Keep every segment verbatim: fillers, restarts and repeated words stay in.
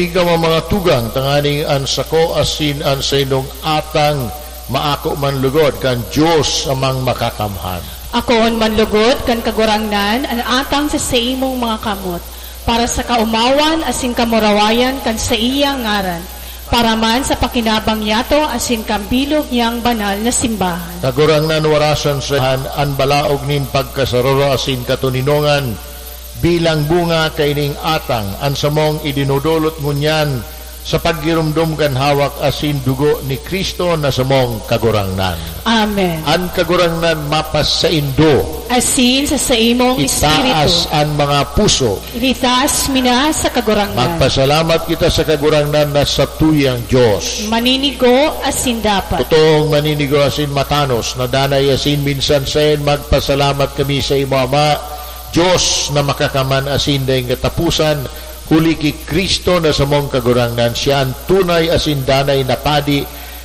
Ikaw ang mga tugang, tanganing an sako asin an saindong atang maako man lugod kan Dios Amang Makakamhan. Akoon man lugod kan Kagurangnan an atang sa saimong mga kamot, para sa kaomawan asin kamurawayan kan saiyang ngaran, para man sa pakinabang niyato asin kan bilog niyang banal na simbahan. Kagurangnan, warasan sa an balaog nin pagkasararo asin katoninongan, bilang bunga kaining atang, an samong idinudulot ngunyan sa paggiromdom kan hawak asin dugo ni Cristo na samong Kagurangnan. Amen. An Kagurangnan mapasaindo. Asin sa saimong Itaas espiritu. An mga puso. Itaas mi na sa Kagurangnan. Magpasalamat kita sa Kagurangnan na satuyang Dios. Maninigo asin dapat. Totoong maninigo asin matanos na danay asin minsan saen magpasalamat kami sa imo, Ama, Dios na makakamhan asin daing kataposan, huli ki Cristo na samong Kagurangnan. Siya an tunay asin danay na padi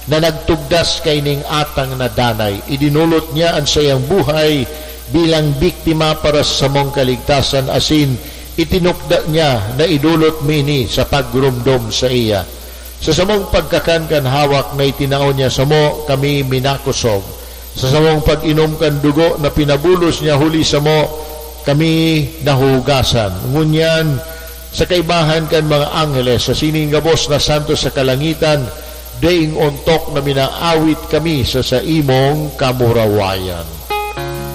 na nagtugdas kaining atang na danay. Idinulot niya an saiyang buhay bilang biktima para sa samong kaligtasan asin itinukda niya na idolot mi ini sa pagromdom saiya. Sa samong pagkakan kan hawak na itinao niya samo, kami minakosog. Sa samong pag-inom kan dugo na pinabulos niya huli samo, kami nahuhugasan. Ngunyan, sa kaibahan kan mga angheles, sa sining gabos na santos sa kalangitan, daing ontok na minaawit kami sa saimong kamurawayan.